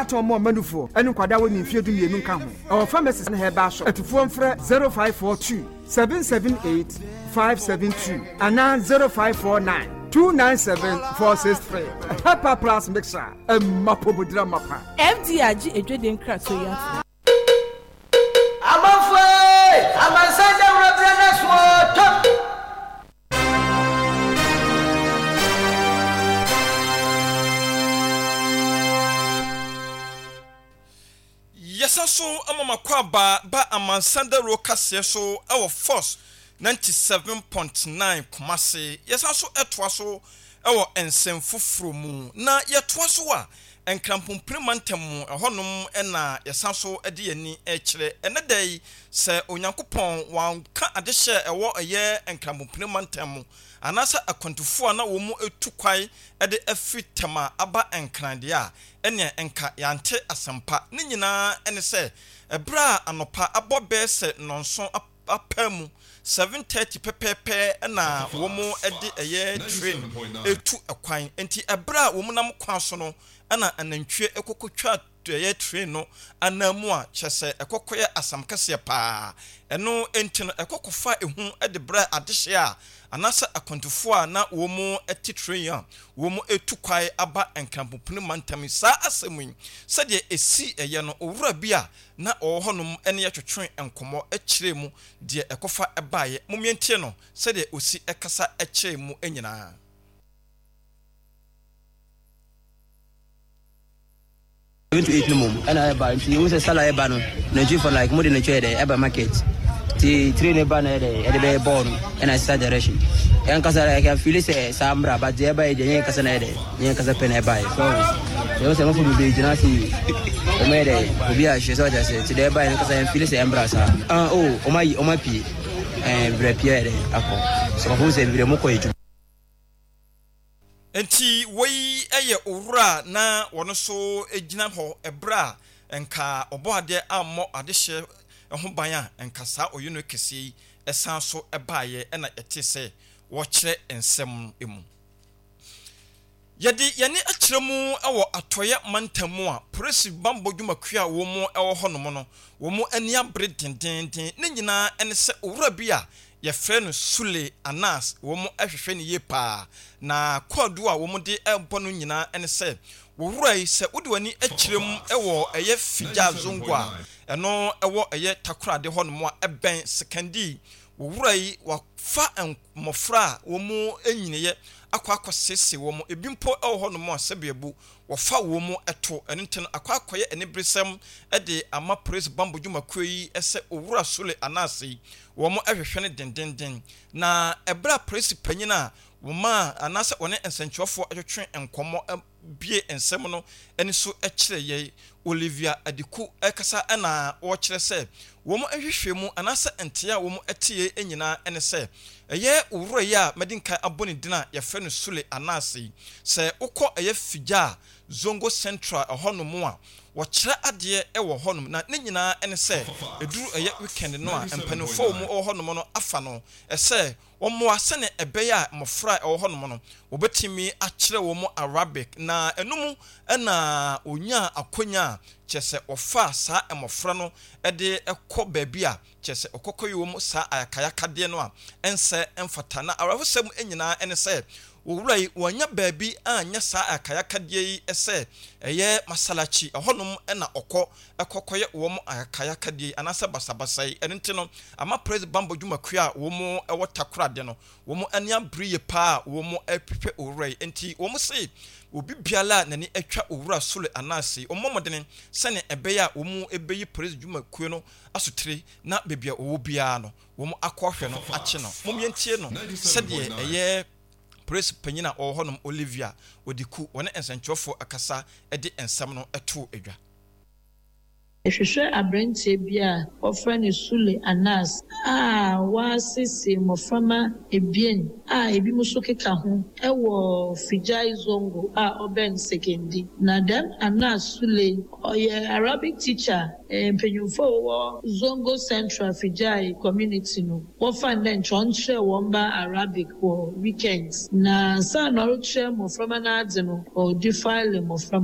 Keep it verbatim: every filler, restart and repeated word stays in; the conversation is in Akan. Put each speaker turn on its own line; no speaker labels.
Atɔn mɔ mmanufoɔ ɛne nkwadaa wɔ ne mfeɛ du mmienu nka ho. Ɛwɔ pharmacies ne herbal shop. Atufoɔ mfrɛ zero five four two seven seven eight five seven two anaa zero five four nine two nine seven four six three. Hepa Plus Mixture ɛmma pomodira mapa.
F D A agye edwede nkratoɔ yi ato.
Amanfoɔ, amansan dawuro berɛ no so tɔm.
Yɛsa so ama makɔ aba ba amansan dawuro kaseɛ so ɛwɔ Force ninety-seven point nine Kumase. Yɛsa so ɛtoa so ɛwɔ nsɛm foforɔ mu, na yɛtoa so a, Nkrampompire mantam mu ɛhɔnom ɛna yɛsa so de yɛni ɛkyerɛ ɛnɛ da yi. Sɛ Onyankopɔn wanka adehyɛ ɛwɔ ɛyɛ Nkrampompire mantam mu anaasɛ akwantufoɔ a na wɔn mu etu kwae ɛde afiri Tɛma aba Nkran deɛ a, ɛnea nka yɛante asɛmpa ne nyinaa. Ɛne sɛ ɛberɛ a anɔpa abɔ bɛɛ sɛ nnɔnson apaa mu, seven thirty pɛpɛɛpɛ, ɛna wɔn de ɛyɛ train etu ɛkwan. Nti ɛberɛ a wɔn nam kwan so no, ɛna anantwie ɛkɔkɔtwa ɛyɛ train no anan mu a kyerɛ sɛ ɛkɔkɔyɛ asam kɛseɛ paa. Ɛno nti no, ɛkɔkɔfa ehu de brɛ adehyeɛ a anaasɛ akwantufoɔ a na wɔn te train a wɔn etu kwae aba Nkrampopini mantam. Saa asɛm yi, sɛdeɛ esi ɛyɛ no, owura bi a na ɔwɔ hɔnom ne yɛtwetwe nkɔmmɔ kyerɛ mu deɛ ɛkɔfa ɛbaeɛ. Momiɛntie no sɛdeɛ osi ɛkasa kyerɛ mu nyinaa.
Seven to eight no mom ɛna ɛba, nti ehu sɛ sala ɛba no, nantwi for like mo de nantwi yɛ dɛ ɛba market, nti train ɛba na yɛ dɛ ɛde bɛyɛ bɔɔl no ɛna ɛsesa direction. Yɛn kasa I can feel sɛ saa mbra, but deɛ ɛba yɛ deɛ yɛn kasa na yɛ dɛ yɛn kasa pɛ na ɛba yɛ so yɛn sɛ mɔfo bebree gyina ase, wɔn yɛ dɛ obi a hyɛ sɛ ɔkyɛ sɛ ti deɛ ɛba yɛ no kasa, yɛn feel sɛ ɛmbra saa. Ah, oh, wɔn ayi, wɔn apue, ɛɛ bebree apue yɛ dɛ akɔ so kɔfo sɛ bebree mo kɔ edwuma.
Nti wei yɛ owura na wɔn nso gyina hɔ ɛberɛ a nka ɔbɔ adeɛ ammɔ adehyɛ ho ban a, nka saa ɔyɛ kɛseɛ yi ɛsan so ɛbaeɛ. Ɛna yɛte sɛ wɔkyerɛ nsɛm mu. Yɛde yɛne akyerɛ mu wɔ Atɔeɛ mantam mu a, polisi bambɔ dwumakuo a wɔn mu wɔ hɔnom no, wɔn mu ani abere dendenden. Ne nyinaa ɛne sɛ owura bi a yɛfrɛ no Sule Anas, wɔn mu hwehwɛ no yie paa, na kɔɔdo a wɔn de ɛbɔ no nyinaa ɛne sɛ wɔwura yi, sɛ wode w'ani akyerɛ mu wɔ ɛyɛ Figya Zongo a ɛno ɛwɔ ɛyɛ Takorade hɔnom a ɛbɛn Sekandi, wɔwura yi wafa mmɔfra a wɔn mu nyiniiɛ akɔ akɔsiesie wɔn. Ebi mpo wɔ hɔnom a sɛbeabu wɔfa wɔn mu to. Ɛno nti no, akɔ akɔyɛ aniberesɛm de ama polisi bambɔ dwumakuo yi sɛ owura Sule Anaase yi, wɔn hwehwɛ no dendenden. Na ɛberɛ a polisi panyin a wɔn a anaasɛ wɔne nsɛntwerɛfoɔ twetwe nkɔmmɔ bie nsɛm no ani so kyerɛ yɛ Olivia Adiku ɛkasa, ɛna wɔkyerɛ sɛ wɔn nhwehwɛ mu anaasɛ ntea a wɔn teɛ nyinaa ɛne sɛ ɛyɛ owura yi a mɛde nkan abɔ ne din a yɛfrɛ no Sule Anaase yi, sɛ wokɔ ɛyɛ Figya a Zongo Central ɛhɔnom a wɔkyerɛ adeɛ ɛwɔ hɔnom, na ne nyinaa ɛne sɛ ɛduru ɛyɛ weekend no a, mpanimfoɔ a wɔn wɔ hɔnom no afa no ɛsɛ wɔmmoa sɛnea ɛbɛyɛ a mmɔfra a ɛwɔ hɔnom no wɔbɛtumi akyerɛ wɔn Arabic. Na ɛno mu ɛna onyaa akonya a kyerɛ sɛ wɔfa saa mmɔfra no de kɔ baabi a kyerɛ sɛ ɔkɔkɔ yi wɔn saa ayakayakadeɛ no a ɛnsɛ mfata. Na awerɛhosɛm nyinaa ɛne sɛ owura yi wɔanya baabi anyɛ saa ayakayakadeɛ yi sɛ ɛyɛ masalachi ɛhɔnom ɛna ɔkɔ ɛkɔkɔyɛ wɔn ayakayakadeɛ yi anaasɛ basabasa yi. Ɛno nti no, ama press bambɔ dwumakuo a wɔn ɛwɔ Takorade no, wɔn ani abere yie paa a wɔn ɛhwehwɛ owura yi. Nti wɔn se obi biara a n'ani atwa owura Sule Anaase, wɔn mmɔden sɛnea ɛbɛyɛ a wɔn ɛbɛyi press dwumakuo no asotire, na beebi a ɔwɔ biara no wɔn akɔhwɛ no akye no. Mom yɛntie no sɛdeɛ ɛyɛ polisi panyin a ɔwɔ hɔnom Olivia Odiku, wɔne nsɛntwerɛfoɔ akasa de nsɛm no too adwa.
Ehwehwɛ aberanteɛ bi a wɔfrɛ no Sule Anas a wasiesie mmɔframma ebien a ebinom nso keka ho wɔ Fijai Zongo a ɔbɛn Sekondi. Na dɛm Anas Sule, ɔyɛ Arabic teacher. Mpanyinfoɔ a wɔwɔ Zongo Central Fijai community no, wɔfa no dɛ nkyɛn ɔnkyerɛ wɔn ba Arabic wɔ weekends, na ansa na ɔrekyerɛ mmɔframma no adze no, ɔdefile mmɔframma.